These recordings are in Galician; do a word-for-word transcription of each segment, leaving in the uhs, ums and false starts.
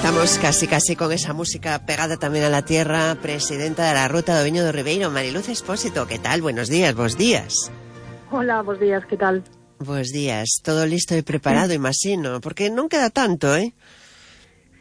Estamos casi casi con esa música pegada también a la tierra. Presidenta de la Ruta do Viño do Ribeiro, Mariluz Expósito, ¿qué tal? Buenos días, bos días. Hola, bos días, ¿qué tal? Bos días, todo listo e preparado, imagino, porque non queda tanto, eh?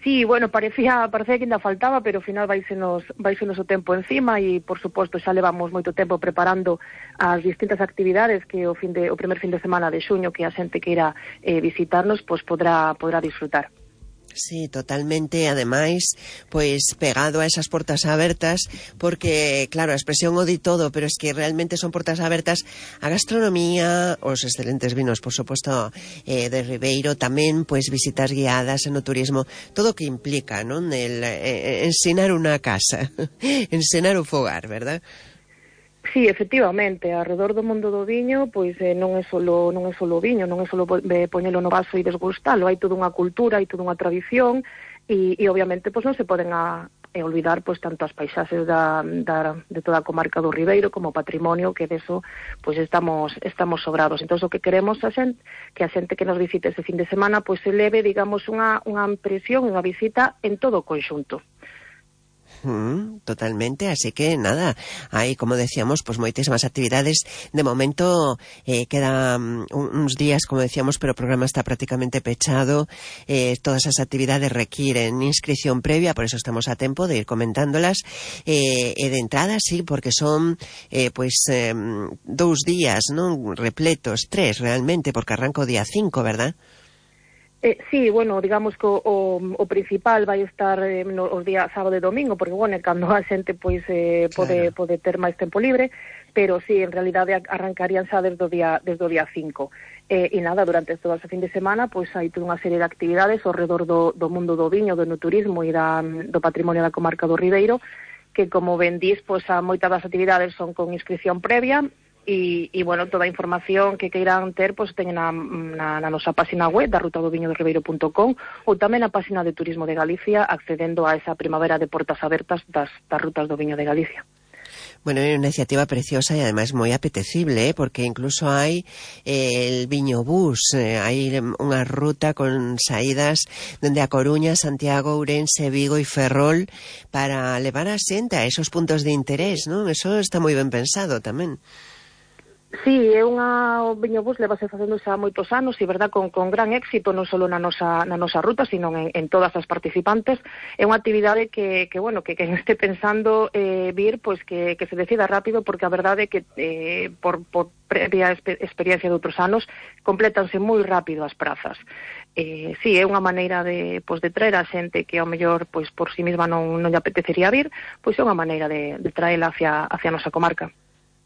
Sí, bueno, parecía, parecía que ainda faltaba, pero ao final vaisenos, vaisenos o tempo encima e, por suposto, xa levamos moito tempo preparando as distintas actividades que o fin de, o primer fin de semana de xuño que a xente que irá eh, visitarnos, pois podrá, podrá disfrutar. Sí, totalmente, ademais, pois pegado a esas portas abertas, porque, claro, a expresión o di todo, pero es que realmente son portas abertas a gastronomía, os excelentes vinos, por suposto, eh, de Ribeiro, tamén, pois, visitas guiadas en o turismo, todo o que implica, non? El eh, ensinar unha casa, ensinar o fogar, verdad? Sí, efectivamente, alrededor do mundo do viño, pois eh, non é solo non é solo o viño, non é solo eh, poñelo no vaso e desgustalo, hai toda unha cultura, hai toda unha tradición e, e obviamente pois non se poden a, a olvidar pois tanto as paisaxes da, da, de toda a comarca do Ribeiro como o patrimonio, que deso pois estamos estamos sobrados. Entón o que queremos a xente, que a xente que nos visite ese fin de semana pois se leve, digamos, unha, unha impresión, unha visita en todo o conxunto. Mm, totalmente, así que nada, hay, como decíamos, pues moitísimas actividades. De momento eh, quedan un, uns días, como decíamos, pero o programa está prácticamente pechado. Eh, todas as actividades requieren inscripción previa, por eso estamos a tempo de ir comentándolas. Eh, e de entrada, sí, porque son eh, pues eh, dous días, non repletos, tres realmente, porque arranca o día cinco, ¿verdad? Eh, sí, bueno, digamos que o, o, o principal vai estar eh, no, os días sábado e domingo, porque, bueno, cando a xente pois eh, pode, claro, pode ter máis tempo libre, pero sí, en realidade arrancarían xa desde o día, desde o día cinco. Eh, e nada, durante todo ese fin de semana, pois hai toda unha serie de actividades ao redor do, do mundo do viño, do turismo e da, do patrimonio da comarca do Ribeiro, que, como ben dís, pois a moitas das actividades son con inscripción previa. E, e, bueno, toda a información que queiran ter, pois teñen na, na, na nosa página web da ruta do viño do ribeiro punto com ou tamén na página de Turismo de Galicia, accedendo a esa primavera de portas abertas das, das rutas do viño de Galicia. Bueno, é unha iniciativa preciosa e ademais moi apetecible, ¿eh? Porque incluso hai eh, el viño bus, eh, hai unha ruta con saídas dende a Coruña, Santiago, Ourense, Vigo e Ferrol para levar a xente a esos puntos de interés, non? Eso está moi ben pensado tamén. Sí, é unha, o viño bus levase facendo xa moitos anos e, verdad, con, con gran éxito, non só na nosa, na nosa ruta, sino en, en todas as participantes. É unha actividade que, que bueno, que quen este pensando eh, vir, pois que, que se decida rápido, porque a verdade é que eh, por, por previa exper experiencia de outros anos, complétanse moi rápido as prazas. Eh, sí, é unha maneira de, pois, de traer a xente que ao mellor pois, por si mesma non, non lle apetecería vir, pois é unha maneira de, de traela hacia, hacia a nosa comarca.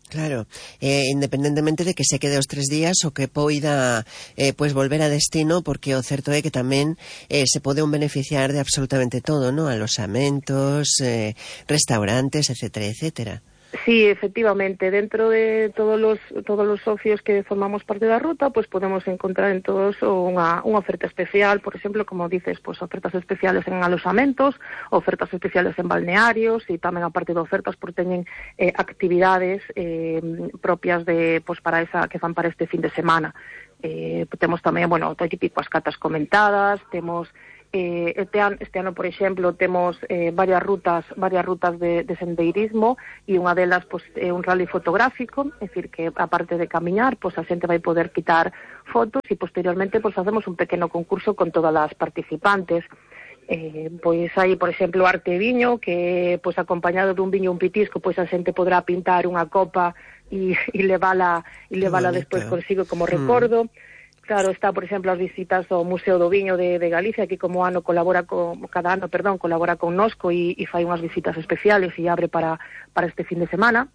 Claro, eh, independentemente de que se quede os tres días o que poida eh, pues volver a destino, porque o certo é que tamén eh, se pode un beneficiar de absolutamente todo, ¿no? Alosamentos, eh, restaurantes, etcétera, etcétera. Sí, efectivamente, dentro de todos los todos los socios que formamos parte da ruta, pues podemos encontrar en todos unha, unha oferta especial, por exemplo, como dices, pues ofertas especiales en alosamentos, ofertas especiales en balnearios e tamén aparte de ofertas porque teñen eh, actividades eh, propias de pues para esa que fan para este fin de semana. Eh, temos tamén, bueno, todo típico as catas comentadas, temos Eh, este, ano, este ano, por exemplo, temos eh, varias rutas varias rutas de, de sendeirismo e unha delas pois, é un rally fotográfico, é dicir, que aparte de camiñar, pois, a xente vai poder quitar fotos e posteriormente pois, facemos un pequeno concurso con todas as participantes. Eh, pois hai, por exemplo, arte e viño, que pois acompañado dun viño un pitisco, pois a xente podrá pintar unha copa e, e levala, e levala despois consigo como recordo. Mm. Claro, está, por exemplo, as visitas ao Museo do Viño de, de Galicia, que como ano colabora con, cada ano, perdón, colabora con Nosco e, e fai unhas visitas especiales e abre para, para este fin de semana.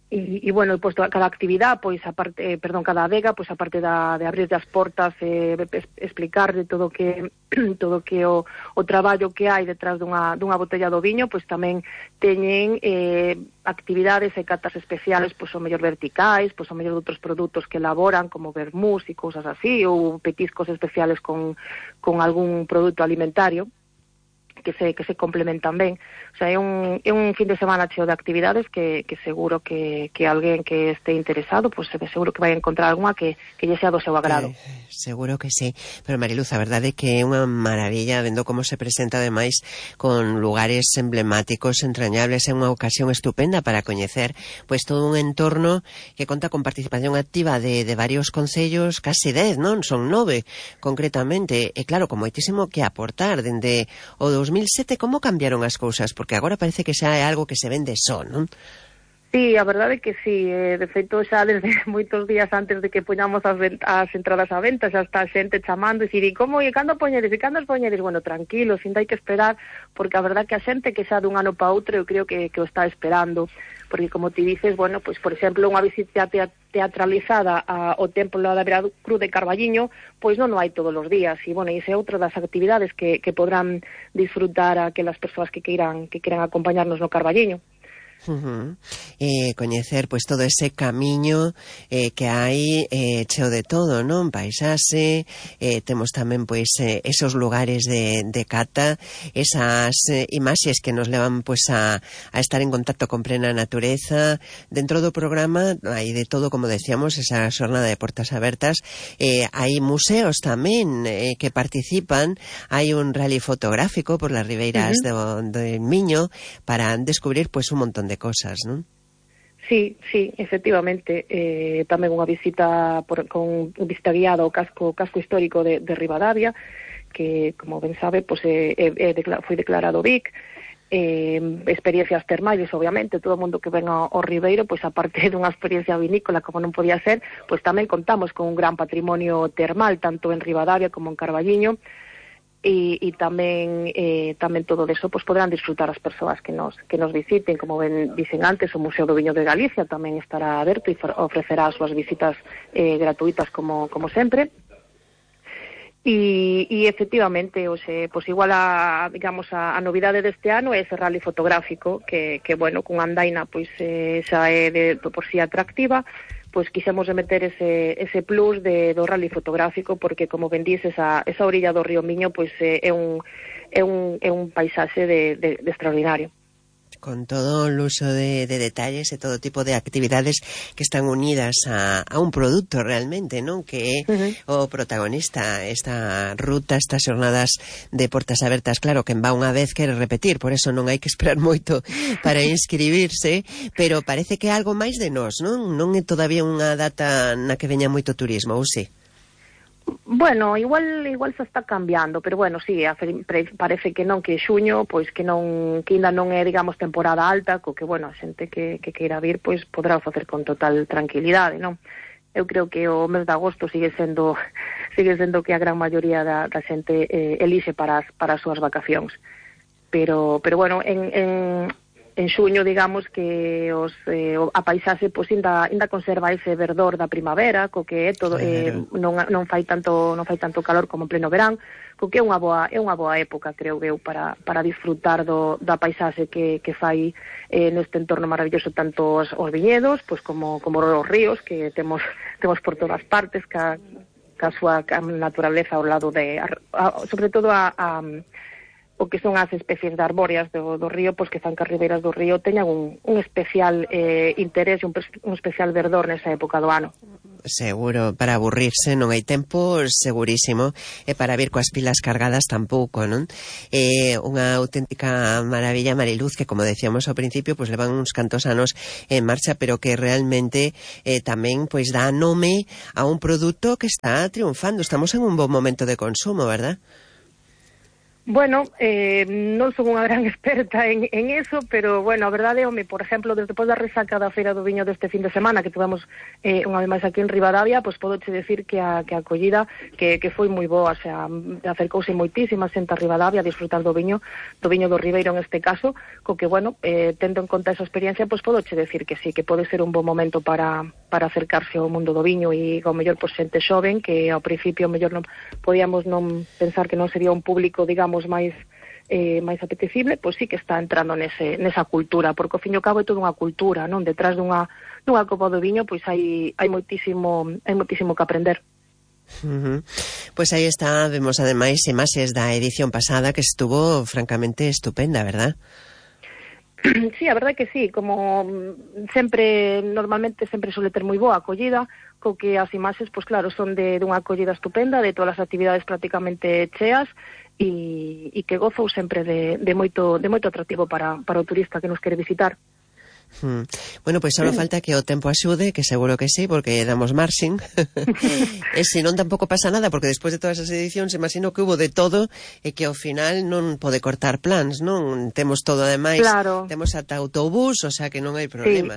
E, e bueno, pois cada actividade, pois aparte, eh, perdón, cada adega, pois aparte da, de abrir as portas, eh, explicar de todo que todo que o, o traballo que hai detrás dunha, dunha botella do viño, pois tamén teñen eh, actividades e catas especiales, pois o mellor verticais, pois o mellor de outros produtos que elaboran, como vermús e cousas así, ou petiscos especiales con, con algún produto alimentario. que se que se complementan ben. O sea, é un, é un fin de semana cheo de actividades que, que seguro que, que alguén que este interesado, pues seguro que vai encontrar alguna que, que lle sea do seu agrado. Eh, seguro que sí. Pero Mariluz, a verdade é que é unha maravilla vendo como se presenta ademais con lugares emblemáticos, entrañables, é unha ocasión estupenda para coñecer pois todo un entorno que conta con participación activa de, de varios concellos, casi dez, non? Son nove, concretamente. E claro, con moitísimo que aportar dende o dos mil sete, como cambiaron as cousas? Porque agora parece que xa é algo que se vende só, non? Sí, a verdade é que sí, eh, de feito xa desde moitos días antes de que poñamos as, as entradas á venta xa está a xente chamando e dicir, e como, e cando poñedes, e cando os poñedes? Bueno, tranquilo, sin hai que esperar, porque a verdade que a xente que xa dun ano para outro eu creo que, que o está esperando, porque como ti dices, bueno, pois por exemplo, unha visita teatralizada ao Templo da Veracruz de Carballiño, pois non o hai todos os días, e bueno, esa é outra das actividades que, que podrán disfrutar aquelas persoas que queiran, que queiran acompañarnos no Carballiño. Uh-huh. E coñecer pois todo ese camiño eh, que hai eh, cheo de todo, non? Paisaxe, eh, temos tamén pois eh, esos lugares de, de cata, esas eh, imaxes que nos levan pois a, a estar en contacto con plena natureza. Dentro do programa hai de todo, como decíamos, esa xornada de portas abertas, eh, hai museos tamén eh, que participan, hai un rally fotográfico por las ribeiras uh-huh. do, do Miño para descubrir pois un montón de cosas, non? Sí, sí, efectivamente, eh, tamén unha visita por, con visita guiada ao casco casco histórico de, de Ribadavia, que, como ben sabe, pues, eh, eh, decla- foi declarado V I C, eh, experiencias termais, obviamente, todo o mundo que ven ao, ao Ribeiro, pois pues, aparte dunha experiencia vinícola, como non podía ser, pois pues, tamén contamos con un gran patrimonio termal, tanto en Ribadavia como en Carballiño, e, e tamén eh, tamén todo deso pues, poderán disfrutar as persoas que nos que nos visiten, como ben dicen antes, o Museo do Viño de Galicia tamén estará aberto e ofrecerá as súas visitas eh, gratuitas como, como sempre. E, e efectivamente, o sea, pues igual a, digamos, a, a novidade deste ano é ese rally fotográfico que, que bueno, con andaina pois eh, xa é de, de por si atractiva, pois quixemos meter ese, ese plus de, do rally fotográfico, porque como ben dices, esa, esa orilla do río Miño pois é, é un é un é un paisaxe de, de, de extraordinario. Con todo o uso de, de detalles e todo tipo de actividades que están unidas a, a un produto realmente, non? Que é uh-huh. o protagonista, esta ruta, estas xornadas de portas abertas. Claro, quen va unha vez quere repetir, por eso non hai que esperar moito para inscribirse, pero parece que é algo máis de nós, non? Non é todavía unha data na que veña moito turismo, ou si? Bueno, igual igual se está cambiando, pero bueno, sí, parece que non, que xuño, pois que non, que ainda non é, digamos, temporada alta, co que, bueno, a xente que, que queira vir, pois poderá facer con total tranquilidade, non? Eu creo que o mes de agosto sigue sendo sigue sendo que a gran maioría da, da xente eh, elixe para as, para as súas vacacións. Pero, pero bueno, en, en en xuño, digamos que os eh, a paisaxe pois ainda ainda conserva ese verdor da primavera, co que é todo eh, non non fai tanto non fai tanto calor como en pleno verán, co que é unha boa é unha boa época, creo eu, para para disfrutar do da paisaxe que que fai eh, neste entorno maravilloso, tanto os, os viñedos, pois como como os ríos que temos temos por todas partes, ca ca súa naturaleza ao lado de a, a, sobre todo a, a o que son as especies de arbóreas do, do río, pois que fan que as ribeiras do río teñan un, un especial eh, interés e un, un especial verdor nesa época do ano. Seguro, para aburrirse non hai tempo, segurísimo, e para vir coas pilas cargadas tampouco, non? É unha auténtica maravilla, Mariluz, que como decíamos ao principio, pois levan uns cantos anos en marcha, pero que realmente eh, tamén pois dá nome a un produto que está triunfando. Estamos en un bon momento de consumo, verdad? Bueno, eh, non son unha gran experta en, en eso, pero, bueno, a verdade, home, por exemplo, desde depois da resaca da Feira do Viño deste fin de semana, que tivemos eh, unha vez máis aquí en Ribadavia, pois podo che decir que a, que a acollida que, que foi moi boa, o sea, acercouse moitísima xente a Ribadavia a disfrutar do viño, do viño do Ribeiro en este caso, co que, bueno, eh, tendo en conta esa experiencia, pois podo che decir que sí, que pode ser un bon momento para, para acercarse ao mundo do viño e, ao mellor, pois xente xoven, que ao principio, ao mellor, non podíamos non pensar que non sería un público, digamos, máis eh, máis apetecible, pois sí que está entrando nese, nesa cultura, porque ao fin e ao cabo é toda unha cultura, non? Detrás dunha, dunha copa do viño, pois hai, hai moitísimo hai moitísimo que aprender. Uh-huh. Pues aí está, vemos ademais imaxes da edición pasada que estuvo francamente estupenda, verdad? Sí, a verdade que sí, como sempre, normalmente sempre suele ter moi boa acollida, co que as imaxes, pois claro, son de, de unha acollida estupenda, de todas as actividades prácticamente cheas, e, e que gozou sempre de, de, moito, de moito atractivo para, para o turista que nos quere visitar. Hmm. Bueno, pois só falta que o tempo axude, que seguro que sí, porque damos marxing. E se non tampouco pasa nada, porque despois de todas as edicións imagino que hubo de todo e que ao final non pode cortar plans, non? Temos todo ademais, claro. Temos ata autobús, o sea que non hai problema.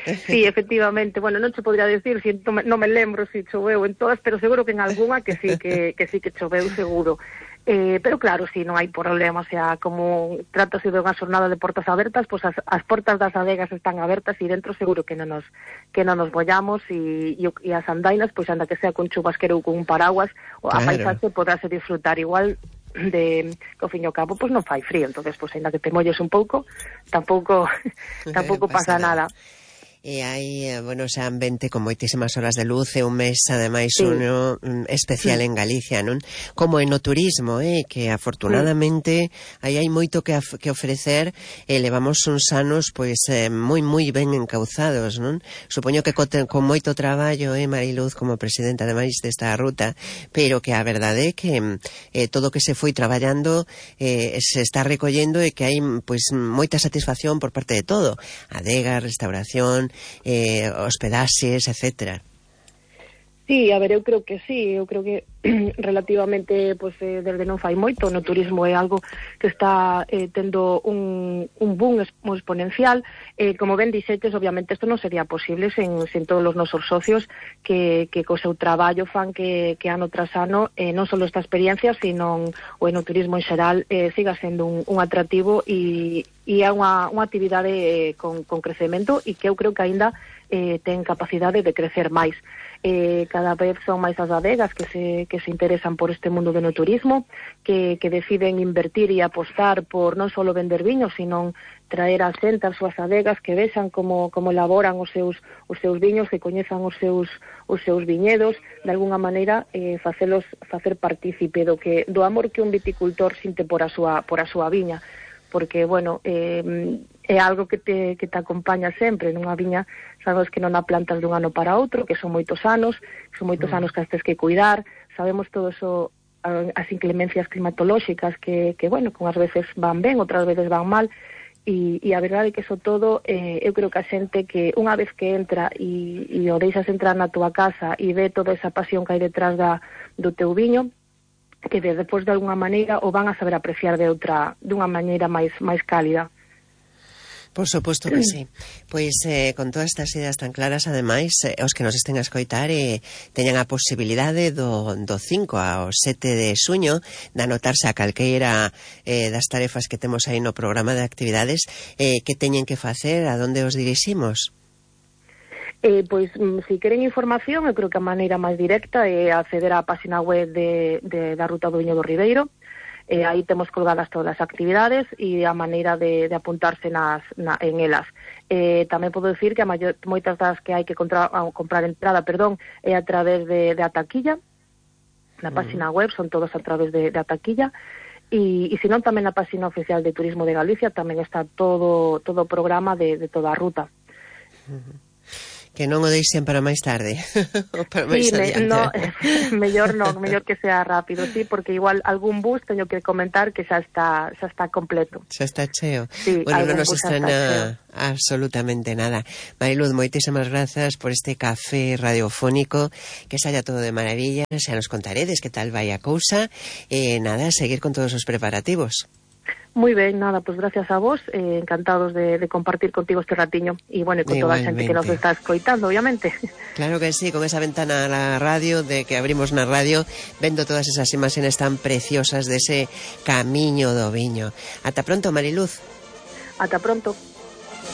Sí, sí, efectivamente. Bueno, non che podría decir, si non me, non me lembro se si choveu en todas, pero seguro que en algunha que sí que, que sí que choveu seguro. Eh, pero claro, si sí, non hai problema, o sea, como trátase de unha xornada de portas abertas, pois pues as, as portas das adegas están abertas e dentro seguro que non nos que non nos bollamos e, e, e as andainas, pois pues, anda que sea con chubasquero ou con un paraguas, claro. A paisaxe podrase disfrutar igual de que ao fin e ao cabo pois pues, non fai frío, entonces pois pues, ainda que te molles un pouco, tampouco tampouco pasa, pasa nada. nada. E hai, bueno, ese ambiente con moitísimas horas de luz e un mes, ademais, sí. uno especial sí. en Galicia, non? Como en o turismo, eh, que afortunadamente sí. aí hai moito que, que ofrecer e levamos uns anos, pois, eh, moi, moi ben encauzados, non? Supoño que co, con moito traballo, eh, Mariluz, como presidenta, ademais, desta ruta, pero que a verdade é que eh, todo o que se foi traballando eh, se está recollendo e que hai, pois, moita satisfacción por parte de todo. Adega, restauración, Eh, hospedaxes, etcétera. Sí, a ver, eu creo que sí, eu creo que relativamente, pues, eh, desde non fai moito, no turismo é algo que está eh, tendo un, un boom exponencial, eh, como ben dixetes, obviamente isto non sería posible sen, sen todos os nosos socios que, que co seu traballo fan que, que ano tras ano, eh, non só esta experiencia, sino o enoturismo en xeral eh, siga sendo un, un atractivo e, e é unha, unha actividade eh, con, con crecemento e que eu creo que aínda eh, ten capacidade de crecer máis. Eh, cada vez son máis as adegas que se, que se interesan por este mundo do turismo, que, que deciden invertir e apostar por non só vender viños, sino traer a xente as súas adegas, que vexan como, como elaboran os seus, os seus viños, que coñezan os seus, os seus viñedos, de alguna maneira eh, facelos, facer partícipe do, que, do amor que un viticultor sinte por a súa, por a súa viña, porque, bueno, eh, é algo que te, que te acompaña sempre nunha viña, sabes que non a plantas dun ano para outro, que son moitos anos, son moitos mm. anos que as tes que cuidar, sabemos todo eso, as inclemencias climatolóxicas que, que bueno, que unhas veces van ben, outras veces van mal, e, e a verdade é que eso todo, eh, eu creo que a xente que unha vez que entra e, e o deixas entrar na túa casa e ve toda esa pasión que hai detrás da, do teu viño, que de, depois de alguna maneira o van a saber apreciar de outra, dunha maneira máis máis cálida. Por suposto que sí. Pois eh, con todas estas ideas tan claras, ademais, eh, os que nos estén a escoitar eh, teñan a posibilidade do, do cinco ao sete de xuño de anotarse a calqueira eh, das tarefas que temos aí no programa de actividades, eh, que teñen que facer, a donde os diriximos? Eh, pois, se si queren información, eu creo que a maneira máis directa é acceder á página web de, de, da Ruta do Viño do Ribeiro. Eh, aí temos colgadas todas as actividades e a maneira de, de apuntarse nas, na, en elas. Eh, tamén podo decir que a maior, moitas das que hai que contra, a, comprar entrada, perdón, é a través de, de Ataquilla, na página web, son todas a través de, de Ataquilla, e, e senón tamén na página oficial de Turismo de Galicia tamén está todo todo o programa de, de toda a ruta. Uh-huh. Que non o deixen para máis tarde ou para máis sí, adiante. No, mellor non, mellor que sea rápido, sí, porque igual algún bus teño que comentar que xa está xa está completo. Xa está cheo. Sí, bueno, non nos estrena absolutamente nada. Mariluz, moitísimas grazas por este café radiofónico, que saia todo de maravilla, xa nos contaredes que tal vai a cousa, e nada, seguir con todos os preparativos. Moi ben, nada, pois pues gracias a vos, eh, encantados de, de compartir contigo este ratiño e, bueno, e con toda a xente que nos está escoitando, obviamente. Claro que sí, con esa ventana a la radio, de que abrimos na radio, vendo todas esas imaxes tan preciosas de ese camiño do viño. Ata pronto, Mariluz. Ata pronto.